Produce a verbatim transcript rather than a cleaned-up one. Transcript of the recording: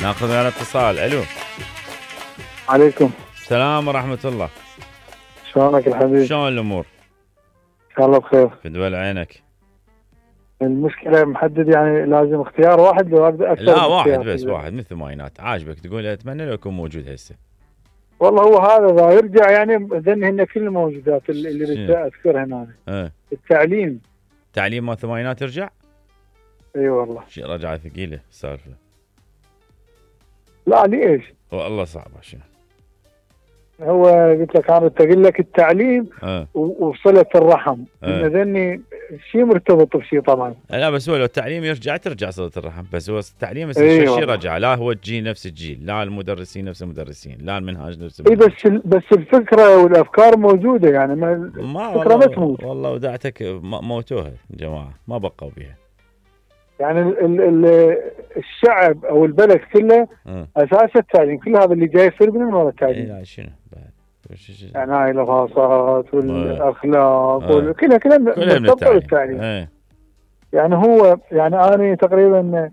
ناخذ على اتصال. الو عليكم السلام ورحمة الله. شلونك الحبيب؟ شلون الامور؟ ان شاء الله بخير. في دول عينك. المشكلة محدد يعني لازم اختيار واحد لو اقدر اكثر؟ لا واحد بس، واحد مثل ما ينات عاجبك تقول اتمنى لو يكون موجود هسه. والله هو هذا اذا يرجع يعني ذن هن كل الموجودات اللي بدي اذكرها هنا. اه التعليم. تعليم مال الثمانينات يرجع؟ اي أيوة والله. شيء رجعه ثقيلة السالفة. لا ليش؟ والله صعبة شنو؟ هو قلت لك انا اقول لك التعليم أه. وصلة الرحم أه. ان ذني شيء مرتبط بشيء طبعا. لا بس هو لو التعليم يرجع ترجع صلة الرحم، بس هو التعليم بس أيوة شيء رجع، لا هو الجيل نفس الجيل، لا المدرسين نفس المدرسين، لا المنهاج نفس اي المنهاج. بس بس الفكرة والافكار موجودة يعني ما, ما الفكرة ما تموت. والله وداعتك موتوها الجماعة ما بقوا بها. يعني ال ال ال الشعب او البلد كله أه. اساس التعليم، كل هذا اللي جاي يصير من ورا التعليم. اي لا شنو بعد يعني هاي الغاصات والاخلاق أه. كلها كلها مرتبطه بالتعليم. ايه. يعني هو يعني انا تقريبا